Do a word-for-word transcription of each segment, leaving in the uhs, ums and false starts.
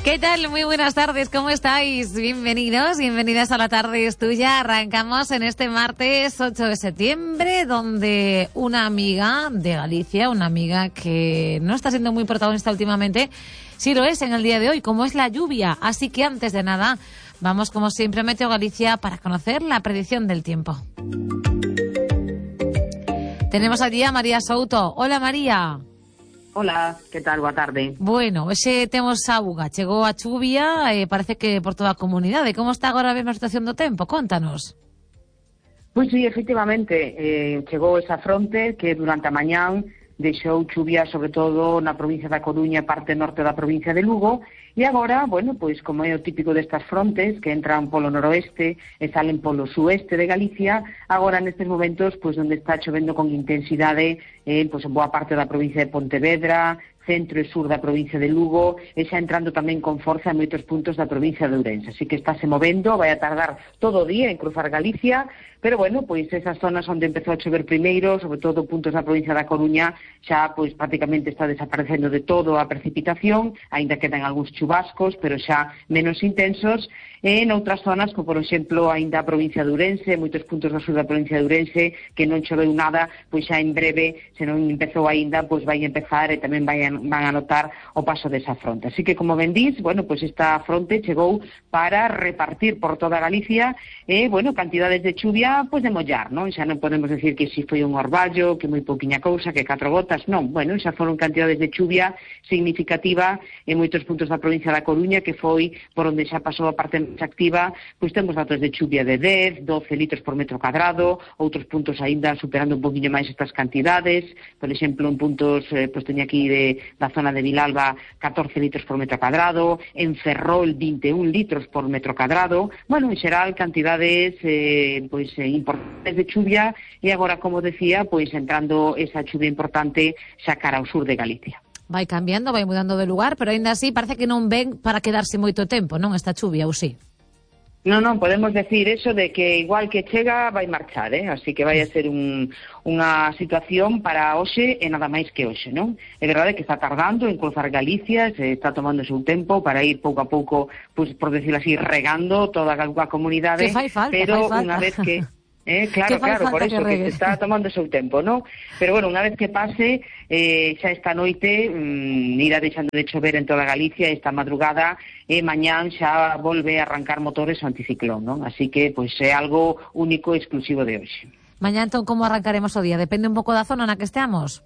¿Qué tal? Muy buenas tardes, ¿cómo estáis? Bienvenidos, bienvenidas a La Tarde es Tuya. Arrancamos en este martes ocho de septiembre, donde una amiga de Galicia, una amiga que no está siendo muy protagonista últimamente, sí lo es en el día de hoy, como es la lluvia. Así que antes de nada, vamos como siempre a Meteo Galicia para conocer la predicción del tiempo. Tenemos allí a María Souto. Hola, María. Hola, que tal? Boa tarde. Bueno, hoxe temos auga, chegou a chuvia, eh, parece que por toda a comunidade. Como está agora a mesma situación do tempo? Contanos. Pois sí, efectivamente, eh, chegou esa fronte que durante a mañán deixou chuvia sobre todo na provincia da Coruña e parte norte da provincia de Lugo, e agora, bueno, pois como é o típico destas frontes que entran polo noroeste e salen polo sueste de Galicia, agora nestes momentos, pois onde está chovendo con intensidade, eh, pois en boa parte da provincia de Pontevedra, centro e sur da provincia de Lugo, e xa entrando tamén con forza en moitos puntos da provincia de Ourense. Así que estáse movendo, vai a tardar todo o día en cruzar Galicia, pero bueno, pois esas zonas onde empezou a chover primeiro, sobre todo puntos da provincia da Coruña, xa pois prácticamente está desaparecendo de todo a precipitación, aínda quedan algúns chubascos, pero xa menos intensos, e en outras zonas, como por exemplo aínda a provincia de Ourense, moitos puntos do sur da provincia de Ourense, que non choveu nada, pois xa en breve, se non empezou aínda, pois vai empezar e tamén vai a, van a notar o paso desa fronte. Así que, como ben dís, bueno, pois esta fronte chegou para repartir por toda Galicia, e, bueno, cantidades de chuvia, pois de mollar, non? Xa non podemos decir que si foi un orballo, que moi pouquiña cousa, que catro gotas, non. Bueno, xa foron cantidades de chuvia significativa en moitos puntos da provincia da Coruña, que foi por onde xa pasou a parte máis activa, pois temos datos de chuvia de dez, doce litros por metro cadrado, outros puntos aínda superando un poquinho máis estas cantidades, por exemplo, en puntos, eh, pois teña aquí de, da zona de Vilalba, catorce litros por metro cadrado, en Ferrol, vinte e un litros por metro cadrado, bueno, en xeral, cantidades, eh, pois, eh, importantes de chuvia, e agora, como decía, pois entrando esa chuvia importante xa cara ao sur de Galicia. Vai cambiando, vai mudando de lugar, pero aínda así parece que non ven para quedarse moito tempo, non, esta chuvia, ou sí? Non, non, podemos decir eso de que igual que chega vai marchar, eh? Así que vai a ser un, unha situación para hoxe e nada máis que hoxe, non? É verdade que está tardando en cruzar Galicia, se está tomando o seu tempo para ir pouco a pouco, pues, por decirlo así, regando toda a comunidade, que fai falta, pero fai falta. unha vez que... Eh, claro, claro, por eso, que, que se está tomando o seu tempo, ¿no? Pero bueno, unha vez que pase, eh, xa esta noite mmm, irá deixando de chover en toda Galicia esta madrugada, e mañán xa volve a arrancar motores o anticiclón, ¿no? Así que, pois, é algo único e exclusivo de hoxe. Mañán, entón, como arrancaremos o día? Depende un pouco da zona na que esteamos?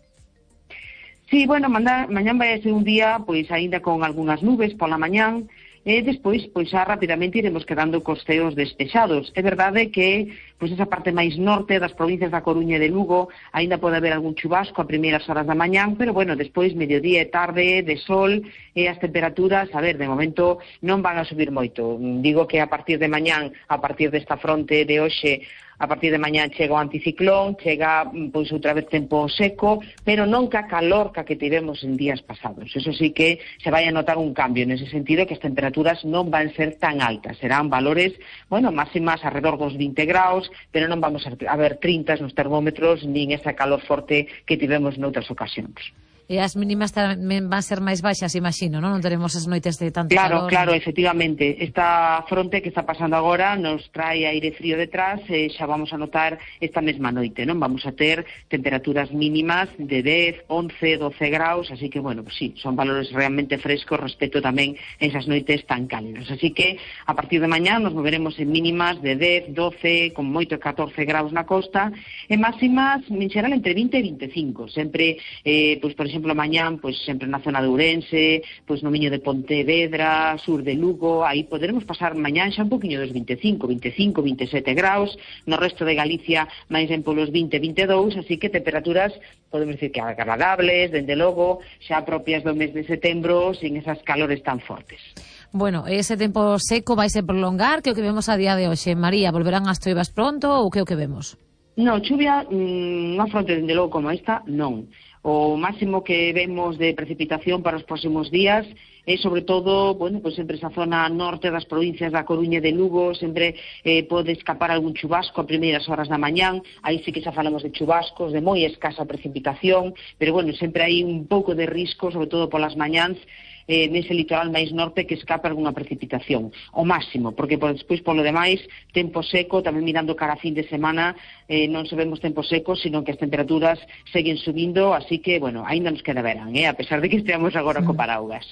Sí, bueno, manda, mañán vai a ser un día, pois, aínda con algunhas nubes pola mañán, e despois, pois, xa rapidamente iremos quedando cos ceos despexados. É verdade que, pois, esa parte máis norte das provincias da Coruña e de Lugo aínda pode haber algún chubasco a primeiras horas da mañán, pero, bueno, despois, mediodía e tarde, de sol, e as temperaturas, a ver, de momento non van a subir moito. Digo que a partir de mañán, a partir desta fronte de hoxe, a partir de mañán chega o anticiclón, chega, pois, outra vez tempo seco, pero non ca calor ca que tivemos en días pasados. Eso sí que se vai a notar un cambio, nese sentido que as temperaturas non van ser tan altas, serán valores, bueno, máximas alrededor dos vinte graus, pero non vamos a ver trinta nos termómetros, nin esa calor forte que tivemos noutras ocasións. E as mínimas tamén van ser máis baixas, imagino, non? Non teremos as noites de tanto claro, calor. Claro, claro, efectivamente. Esta fronte que está pasando agora nos trae aire frío detrás, e xa vamos a notar esta mesma noite, non? Vamos a ter temperaturas mínimas de dez, once, doce graus, así que, bueno, pues sí, son valores realmente frescos respecto tamén a esas noites tan cálidas. Así que, a partir de mañá nos moveremos en mínimas de dez, doce, con moito catorce graus na costa, e máximas, en xeral, entre vinte e veinticinco. Sempre, eh, pues, por exemplo, mañán, pois sempre na zona de Ourense, pois no miño de Pontevedra, sur de Lugo, aí poderemos pasar mañán xa un poquinho dos veinticinco, veinticinco, veintisiete graus, no resto de Galicia máis en polos vinte, veintidós, así que temperaturas, podemos decir que agradables, dende logo, xa propias do mes de setembro, sin esas calores tan fortes. Bueno, ese tempo seco vai se prolongar, que o que vemos a día de hoxe. María, volverán as choivas pronto ou que o que vemos? Non, chuvia, mmm, unha fronte dende logo como esta, non. O máximo que vemos de precipitación para os próximos días é sobre todo, bueno, pois sempre esa zona norte das provincias da Coruña e de Lugo, sempre eh, pode escapar algún chubasco a primeiras horas da mañán, aí sí que xa falamos de chubascos, de moi escasa precipitación, pero bueno, sempre hai un pouco de risco, sobre todo polas mañáns, eh, nese litoral máis norte que escapa algunha precipitación, o máximo, porque por despois, polo demais, tempo seco, tamén mirando cara a fin de semana, eh, non se vemos tempo seco, sino que as temperaturas seguen subindo, así que, bueno, aínda nos queda verán, eh, a pesar de que esteamos agora co paraugas.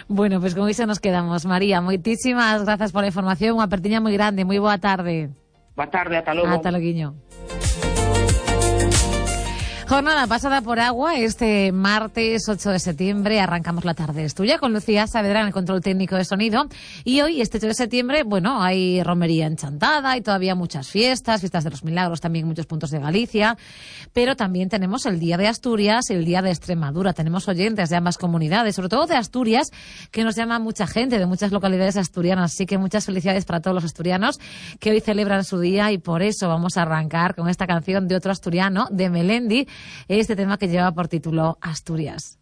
Bueno, pois pues con iso nos quedamos. María, moitísimas grazas pola información, unha apertiña moi grande, moi boa tarde. Boa tarde, ata logo. Ata loguiño. Jornada pasada por agua este martes ocho de septiembre. Arrancamos la tarde tuya con Lucía Saavedra en el control técnico de sonido. Y hoy, este ocho de septiembre, bueno, hay romería enchantada, hay todavía muchas fiestas, fiestas de los milagros también en muchos puntos de Galicia. Pero también tenemos el Día de Asturias y el Día de Extremadura. Tenemos oyentes de ambas comunidades, sobre todo de Asturias, que nos llama mucha gente de muchas localidades asturianas. Así que muchas felicidades para todos los asturianos que hoy celebran su día, y por eso vamos a arrancar con esta canción de otro asturiano, de Melendi, este tema que lleva por título Asturias.